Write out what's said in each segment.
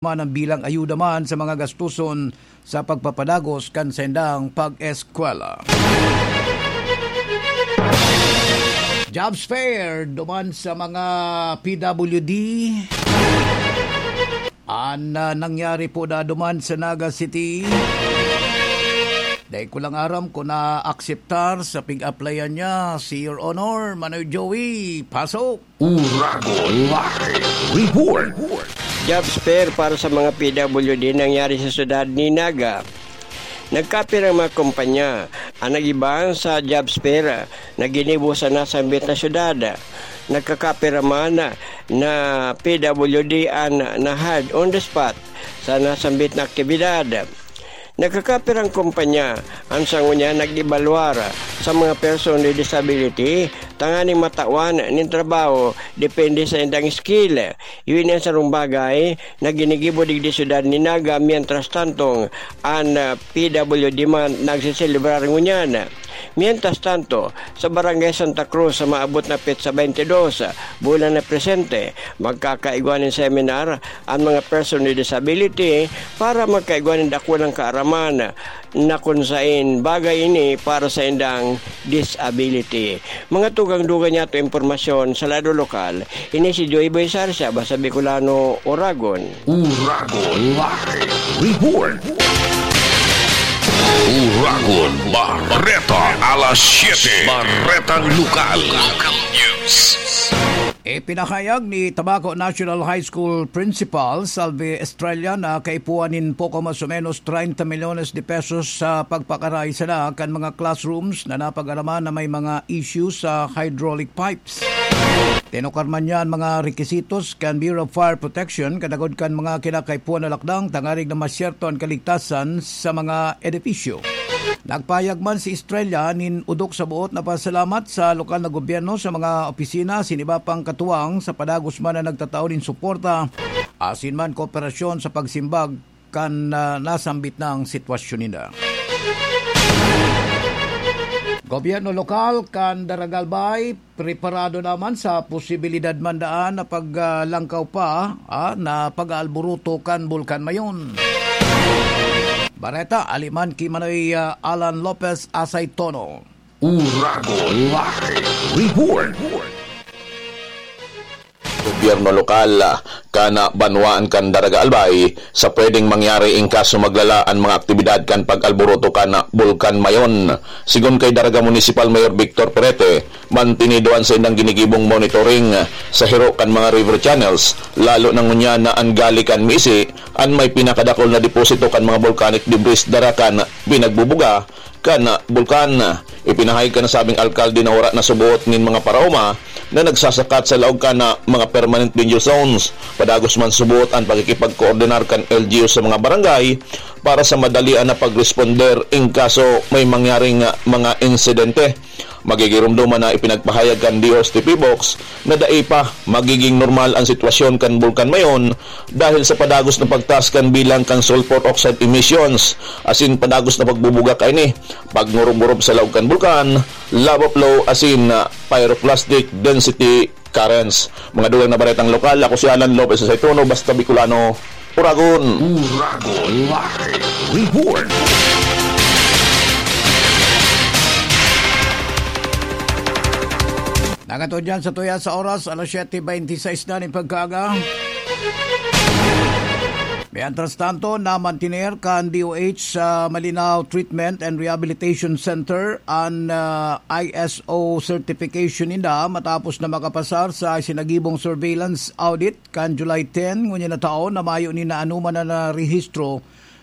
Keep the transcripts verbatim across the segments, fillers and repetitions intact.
man ang bilang ayuda man sa mga gastuson sa pagpapadagos kan saindang pag-eskwela. Jobs fair duman sa mga P W D. An, ah, nangyari po na duman sa Naga City. Dai ko lang aram kung naakseptar sa pig-applyan niya si Your Honor, Manoy Joey. Pasok! Uragon Live Report. Jobs fair para sa mga P W D nangyari sa syudad ni Naga. Nagkapirang mga kumpanya. Ang nag-iba sa jobs fair na ginibo sa nasambit na syudad. Nagkakapira man na P W D an na-hired on the spot sa nasambit na aktibidad. Nagkakapirang kumpanya an sa ngunyan nag-ebalwar sa mga person with disability tanganing matawan nin trabaho depende sa indang skill. Iyo ini an sarong bagay na ginigibo digdi syudad ni Naga, mientras tantong an, ah, P W D man nagseselebrar ngunyan. Mientras tanto, sa Barangay Santa Cruz, sa maabot na petsa twenty-two, bulan na presente, magkakaigwa nin seminar an mga person with disability para magkaigwa nin dakulang kaaraman na kun sain bagay ini para sa indang disability. Mga tugang-dugang niyato impormasyon sa lado lokal, ini si Joy Boy Sarsa, basta Bicolano, Oragon. Uragon Live Report. Uragon Bareta, alas siyete. Baretang Lokal. Local News. Ipinahayag ni Tabaco National High School Principal Salvi Estrella na kaipuhan nin poko mas o menos treinta milyones de pesos sa pagpakaray sana kan mga classrooms na napag-araman na may mga issues sa hydraulic pipes. Tinukar man niya an mga rekisitos kan Bureau of Fire Protection kadagod kan mga kinakaipuhan na lakdang tangarig na masyerto an kaligtasan sa mga edipisyo. Nagpahayag man si Estrella nin odok sa boot na pasalamat sa lokal na gobyerno, sa mga opisina asin iba pang katuwang sa padagos man na nagtatao nin suporta asin man kooperasyon sa pagsimbag kan, ah, nasambit na sitwasyon ninda. Gobyerno lokal kan Daragalbay preparado naman sa posibilidad man daan na pag, ah, langkaw pa, ah, na pag-aalburuto kan Bulkan Mayon. Bareta, aliman ki Manoy, ah, Alan Lopez Asay Tono. Uragon Live Report. Gobyerno lokal, ah, kan, ah, banwaan kan Daraga Albay sa pwedeng mangyari in kaso maglala an mga aktibidad kan pag-alburuto kan, ah, Bulkan Mayon. Sigon kay Daraga Municipal Mayor Victor Perete, mantinido an saindang ginigibong monitoring sa hiro kan mga river channels, lalo na ngunyan na an gali kan Misi, an may pinakadakul na deposito kan mga volcanic debris dara kan pinagbubuga kan bulkan. Ipinahayag kan nasabing alkalde na wara na suboot nin mga paraoma na nagsasakat sa laog kan mga permanent danger zones. Padagos man suboot an pakikipagkoordinar kan L G U sa mga barangay para sa madalian na pagresponder in kaso may mangyaring mga insidente. Magigiromdoman na ipinagpahayag kan D O S T P Box na dai pa magiging normal an sitwasyon kan Bulkan Mayon dahil sa padagos na pagtaas kan bilang kan sulfur oxide emissions asin padagos na pagbubuga kaini, pagngurub-ngurub sa laog kan bulkan, lava flow asin, ah, pyroclastic density currents. Mga dugang na baretang lokal, ako si Alan Lopez sa Saituno, basta Bicolano, Uragon. Uragon Live Report. Nangatod yan sa tuya sa oras, alas siyete beintiseis na nin pagkaaga. Mientras tanto, namantiner kan D O H sa Malinao Treatment and Rehabilitation Center an, ah, I S O certification ninda matapos na makapasar sa isinagibong surveillance audit kan July ten ngunyan na taon na mayo ni na anoman na narehistro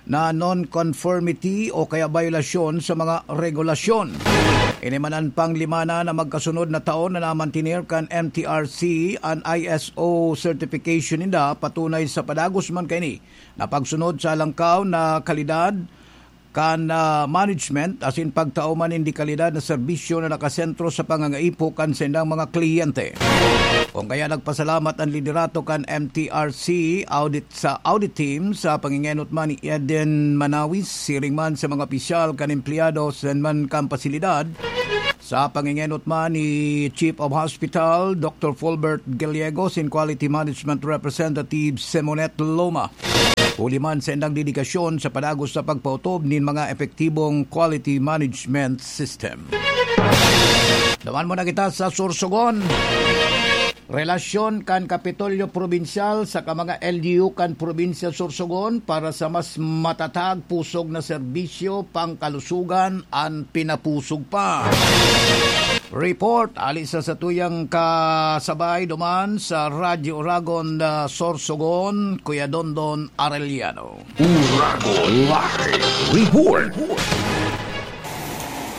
na non-conformity o kaya bayolasyon sa mga regulasyon. Ini man an panglima na na magkasunod na taon na namantiner kan M T R C an I S O certification ninda. Patunay sa padagos man kaini na pagsunod sa alangkaw na kalidad kan, ah, management asin pagtao man nin dekalidad na serbisyo na nakasentro sa pangangaipo kan saindang mga kliyente. Kung kaya nagpasalamat an liderato kan M T R C audit sa audit team sa pangingenot man ni Eden Manawis, siring man sa mga opisyal kan empleyado sa man kan pasilidad, Sa pangengenot man ni Chief of Hospital, Doctor Fulbert Gallego, sin Quality Management Representative Simonet Loma, huli man sa indang dedikasyon sa padagos sa pagpaotob nin mga epektibong quality management system. Duman muna kita sa Sorsogon. Relasyon kan Kapitolyo Probinsyal saka mga L G U kan Probinsya Sorsogon para sa mas matatag pusog na serbisyo pangkalusugan an pinapusog pa. Report ali sa satuyang kasabay duman sa Radyo Oragon, ah, Sorsogon, Kuya Dondon Arellano. Uragon Live Report.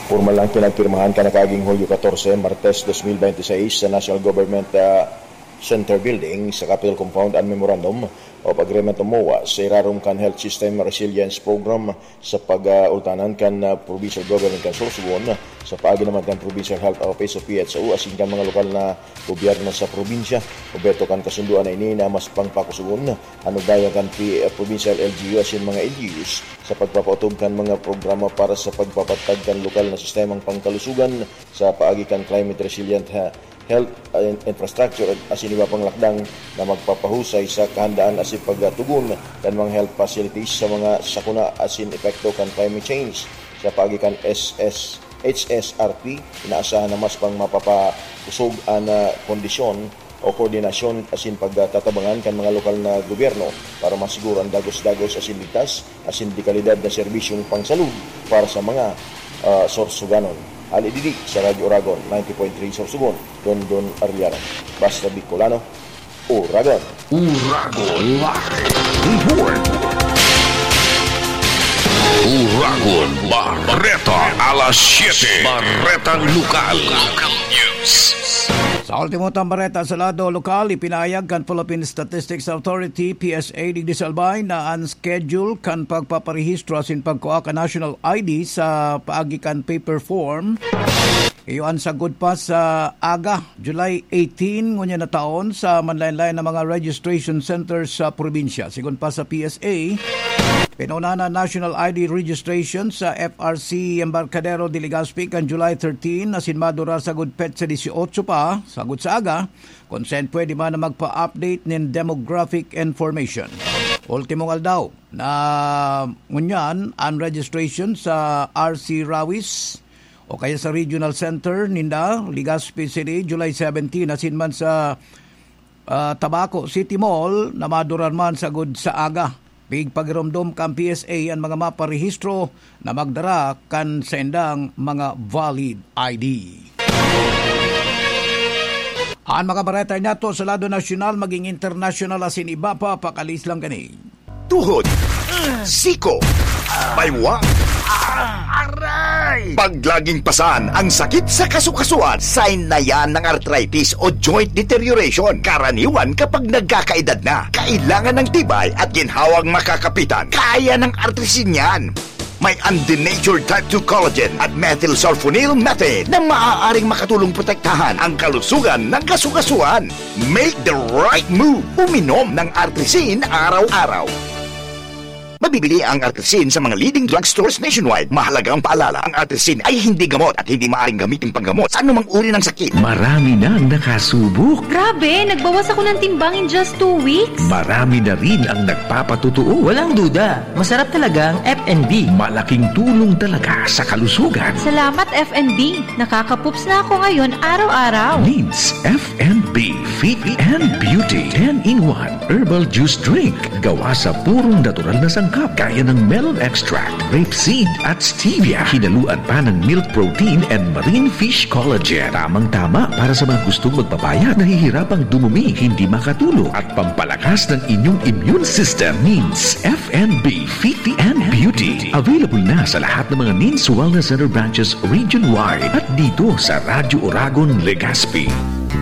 Pormal ang pinagpirmahan kan nakaaging Hulyo katorse, Martes, dos mil bente seis, sa National Government, ah, Center Building sa Capitol Compound an Memorandum of Agreement o MOA sa irarom kan Health System Resilience Program sa pag-ultanan kan, ah, Provincial Government kan Sorsogon, sa paagi naman kan Provincial Health Office o P H O asin kan mga lokal na gobyerno sa probinsya. Obheto kan kasundoan na ini na mas pangpakusugon an ugnayan kan P-, Provincial L G U asin mga L G Us sa pagpapautob kan mga programa para sa pagpapatag kan lokal na sistemang pangkalusugan sa paagi kan climate resilient ha-, health, uh, in-, infrastructure asin iba pang lakdang na magpapahusay sa kahandaan asin pagtugon kan mga health facilities sa mga sakuna asin epekto kan climate change. Sa paagi kan S S, H S R P, inaasahan na mas pang mapapakusog an, ah, kondisyon o koordinasyon asin pagtatabangan kan mga lokal na gobyerno para masiguro an dagos-dagos asin ligtas asin de kalidad na serbisyong pangsalud para sa mga, ah, Sorsoganon. Ali didi sa Radyo Oragon, ninety point three Sorsogon, Dondon Arellano. Basta Bicolano, Oragon. Uragon Live Report. Uragon Bareta, alas siyete. Baretang Lokal. Local News. Sa ultimo tang bareta sa lado lokal, ipinahayag kan Philippine Statistics Authority, P S A, digdi sa Albay na an schedule kan pagpaparehistro asin pagkua kan national I D sa paagi kan paper form iyo an sagkod pa sa aga, July eighteen, ngunyan na taon, sa manlaen-laen na mga registration centers sa probinsya. Sigon pa sa P S A, pinuna na national I D registration sa F R C Embarcadero de Legazpi kan July thirteen, asin madurar sagkod petsa dieciocho pa, sagkod sa aga, kun saen pwede man na magpa-update nin demographic information. Ultimong aldaw na ngunyan an registration sa R C Rawis o kaya sa Regional Center ninda, Legazpi City, July seventeen, asin man sa, ah, Tabaco City Mall na madurar man sagkod sa aga. Pigpagiromdom kan P S A an mga maparehistro na magdara kan saindang mga valid I D. An mga bareta niyato sa lado nasyonal maging internasyonal asin iba pa, pakalis lang kani. Tuhod, siko, baywa, aray! Pag laging pasan ang sakit sa kasukasuan, sign na yan ng arthritis o joint deterioration. Karaniwan kapag nagkakaedad na, kailangan ng tibay at ginhawang makakapitan. Kaya ng Artrisin yan. May undenatured type two collagen at methylsulfonyl methane na maaaring makatulong protektahan ang kalusugan ng kasukasuan. Make the right move. Uminom ng Artrisin araw-araw. Mabibili ang Artrisin sa mga leading drugstores nationwide. Mahalagang paalala, ang Artrisin ay hindi gamot at hindi maaaring gamitin panggamot sa anumang uri ng sakit. Marami nang nakasubok. Grabe, nagbawas ako ng timbang in just two weeks. Marami na rin ang nagpapatotoo. Walang duda, masarap talaga ang F and B. Malaking tulong talaga sa kalusugan. Salamat, F and B. Nakakapups na ako ngayon araw-araw. Needs F and B Fit and Beauty ten-in-one Herbal Juice Drink. Gawa sa purong natural na sangkap, gaya ng melon extract, rape seed, at stevia. Hinaluan pa ng milk protein and marine fish collagen. Tamang-tama para sa mga gustong magpapayat, nahihirapang dumumi, hindi makatulog, at pampalakas ng inyong immune system. Needs F and B Fit and Beauty. Available na sa lahat ng mga Needs Wellness Center branches region-wide at dito sa Radyo Oragon, Legazpi.